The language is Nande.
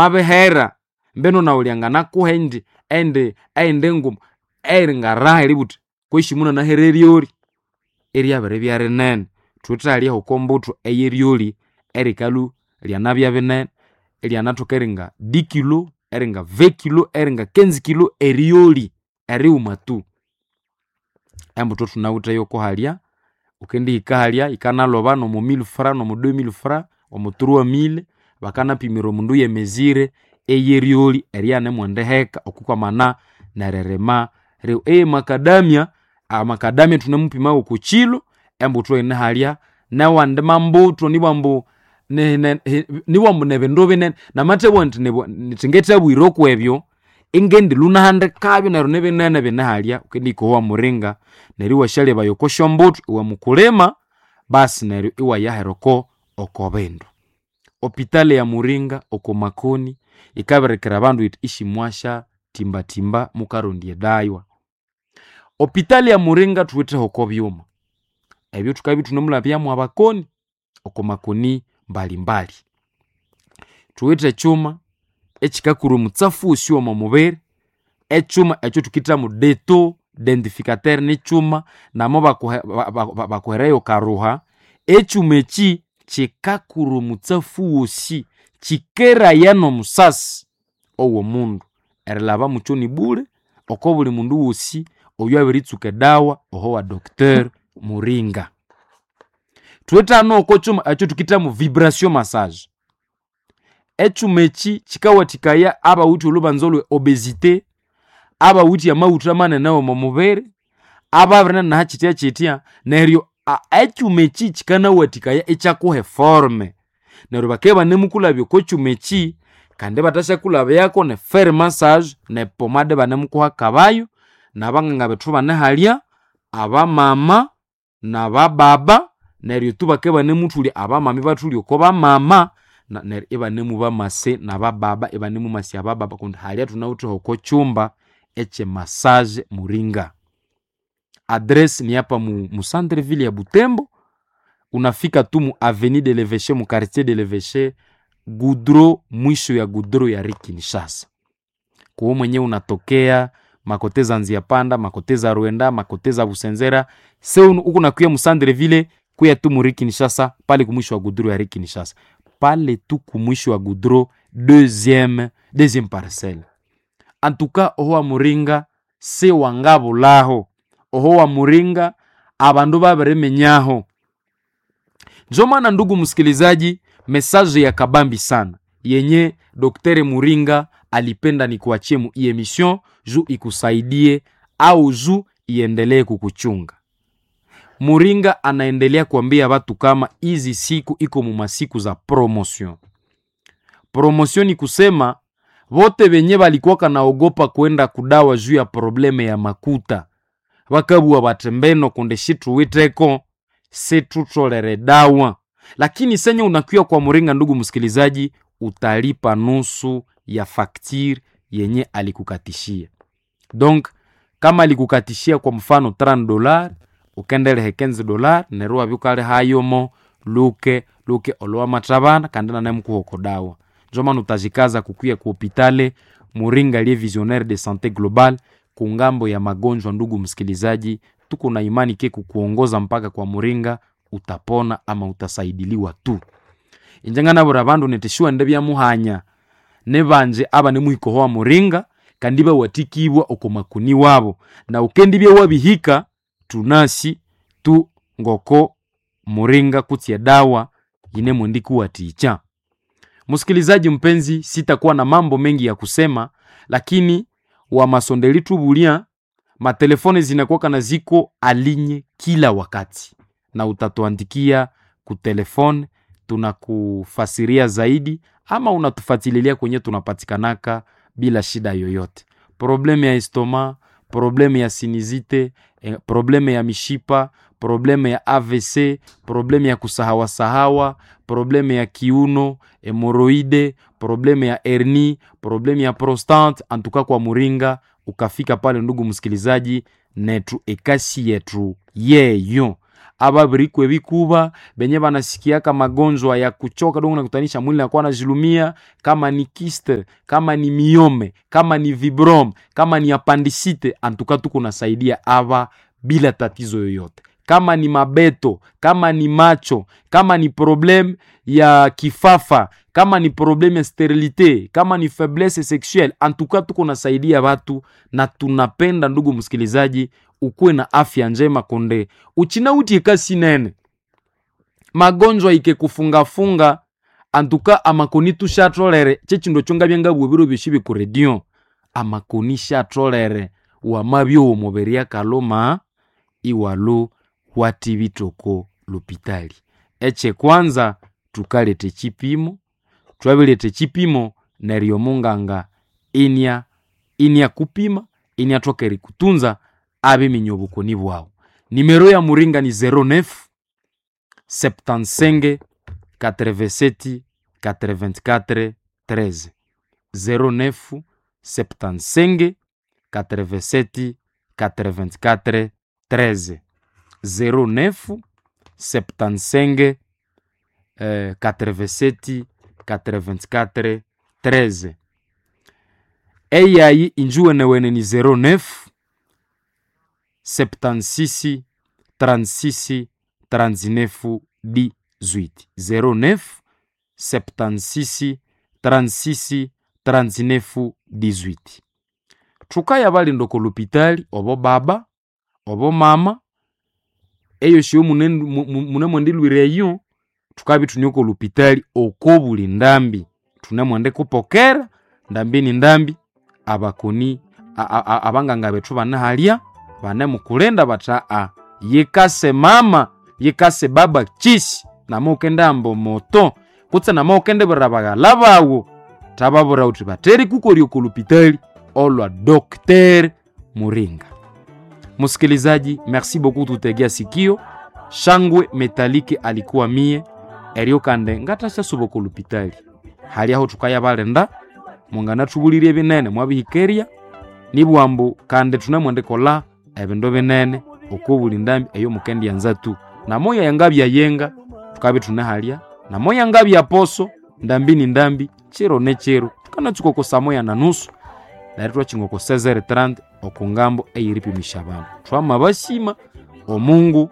Mabihera mbino nawe lyanganakuha indi indi eyindi nguma eyingaraha eribugha wuthi kwesi munanahera eryoli eryabiribya rinene. Thuwithe halya hoko mbuthu eyeryoli erikalhu lyanabya binene iryanathoka eringa 10 kilo, eringa 20 kilo, eringa 15 kilo eryoli erighuma tu. Embuthu thunawithe yoko halya, wukendihika halya yikanalhoba nomo 1000 francs, nomo 2000 francs, omo 3000 bakanapimira omundu yemezire eyeryoli eryanemwendiheka okwikwamana neririma eyemakadamia, amakadamia thunemupima woko kilo embuthu eyine halya newandi mambuthu nibwambu nibwambu nibindu binene namathabugha indi ngethabwira okwebyo ingendilhwa nahandikabyo neryo nibinene bine halya wukendihika owa muringa neryo iwasyalebaya oko syombuthu iwe mukulima basi neryo iwayahera oko oko bindu. Hopitali ya Muringa oko makoni yikabirikira abandu yithi isimwasya timbatimba mukarondya edawa. Hopitali ya Muringa thuwitheho oko byuma ebyo thukabya ithunemulabyamu abakoni oko makoni mbalimbali. Thuwithe ekyuma ekyikakura omutsafu wosi omo mubiri, ekyuma ekyo thukithamu deto dendificateur nikyuma namo bakuherayo karuha, ekyuma ekyi kyikakura omutsafu wosi, kyikeraya nomusasi owomundu erilhaba mukyo nibule oko buli mundu wosi oywabiritsuka edawa oho wa Doctor Muringa. Thuwithe hano oko kyuma ekyathukithamu vibration massage. Ekyuma ekyi kyikawathikaya abawithe olhubanza olwe obesity, abawithe amaghutha manene omo mubiri, ababirinanaha kyithyakyithya neryo ekyuma ekyi kyikanawathikaya ikyakuha eforme. Neryo bakabya ibanemukulhabya oko kyuma ekyi kandi ibathasyakulhabyako ne fer massage nepomade ibanemukuhakabayo nabanganga bethu ibane halya, abamama nabababa neryo tu bakabya ibanemuthulya abamama ibathulya oko bamama neryo ibanemubamase nabababa ibanemumasya abababa kundi halya thunawithe hoko kyumba ekye massage Muringa. Address ni hapa mu centre ville ya Butembo, unafika tu mu avenue de l'Eveche mu quartier de l'Eveche goudron mwisho ya goudron ya Rue Kinshasa. Kuwe mwenyewe unatokea makote za Nzia Panda, makote za Rwenda, makote za Busenzera, seu uko nakuya mu centre ville kuya tu mu Rue Kinshasa pale kumwisho wa goudron ya Rue Kinshasa. Pale tu kumwisho wa goudron deuxième deuxième parcelle. En tout cas oho wa Muringa siwangabulhaho, oho wa Muringa abandu babiriminyaho. Njo maana ndugu msikilizaji, message ya kabambi sana yenye Dr. Muringa alipenda nikuachie mu emission juu ikusaidie au juu iendelee kukuchunga. Muringa anaendelea kuambia watu kama hizi siku iko mumasiku za promotion. Promotion ni kusema vote venye valikuwaka naogopa kwenda kudawa juu ya probleme ya makuta vakabugha bati mbeno kundi situwiteko situtolere dawa, lakini senye unakuya kwa Muringa, ndugu msikilizaji, utalipa nusu ya faktire yenye alikukatishia. Donc kama alikukatishia kwa mfano $30 ukendelehe $15 neryo wabya ukalihayomo luke luke olwamathabana kandi nanemukuha oko dawa. Njo maana utajikaza kukuya ku hopitale Muringa liye visionnaire de sante global kungambo ya magonjwa. Ndugu msikilizaji, tuko na imani ke kukuongoza mpaka kwa Muringa utapona ama utasaidiliwa tu. Inje nganabwira abandu niti siwende byamuhanya nibanje abanemuhika owa Muringa kandi bawathikibwa oko makoni wabo na ukendibya wabihika tunasi tu ngoko Muringa kutsi edawa yinemwendikuwathikya. Msikilizaji mpenzi, sitakuwa na mambo mengi ya kusema, lakini wamasondeli tubulia matelefone zinakuwaka na ziko alinye kila wakati, na utatuandikia kutelefone, tunakufasiria zaidi ama unatufatililia kwenye tunapatikanaka bila shida yoyote. Probleme ya estoma, probleme ya sinizite, probleme ya mishipa, probleme ya AVC, probleme ya kusahawasahawa, probleme ya kiuno, hemoroide, probleme ya hernie, probleme ya prostate. Antuka kwa Muringa ukafika pale, ndugu msikilizaji, netu ekasi yetu yeyo. Ababirikwa ebikuba benye banasikiaka magonjwa ya kuchoka dongo nakutanisha mwili nakuwa najilumia, kama ni kiste, kama ni miome, kama ni vibrom, kama ni apandisite, antuka tuko nasaidia aba bila tatizo yoyote. Kama ni mabeto, kama ni macho, kama ni probleme ya kifafa, kama ni probleme ya sterilite, kama ni faiblesse sexuelle, antuka tuko nasaidia watu, na tunapenda ndugu msikilizaji, ukuwe na afya njema konde uchina utie kasi nene magonjwa ike kufungafunga antuka amakoni tushatolere chechindo chonga byangabwe biro byoshi bikuredio amakoni shatolere wamabyo omubiri akaluma iwalo watibitoko lopitali. Eche kwanza tukaleta chipimo, twabileta chipimo neryo munganga inya inya kupima inya toka erikutunza abiminya obukoni bwawu. Nimero ya Muringa ni 09 75 87 84 13, 09 75 87 84 13, 09 75 87 84 13. Eyayi injuwenewene ni 09 76 36 39 18, 09 76 36 39 18. Thukaya balinda oko lupitali obo baba obo mama eyo syo munemwendilwira eyo thukabya ithune oko lupitali oko buli ndambi thunemwenda kupokera ndambi ni ndambi abakoni abanganga bethu bane halya banemukulinda bathi aa yikase mama yikase baba chisi nama ukendihamba omoto kutse nama ukendibwira baghala bawu thababwira wuthi batheri kukorya oko lupitali olwa Dr. Muringa. Msikilizaji, merci beaucoup tutegea sikio. Shangwe Metalike alikuwa mie eryo kande ngathasya oko lupitali hali aho thukayabalinda munganathubulirye ebinene mwabihikeria nibwambu kandi thunemwendikolha ebindu binene oko buli ndambi eyo mukendyanza tu namoya yangabya yenga thukabya ithune halya namoya ngabya poso ndambi ni ndambi chiro ne chiro thukanatsuka oko saa moya na nusu neryo thwakyinga oko 16:30 oku ngambo eyeripimisha abandu. Thwamabasima omungu.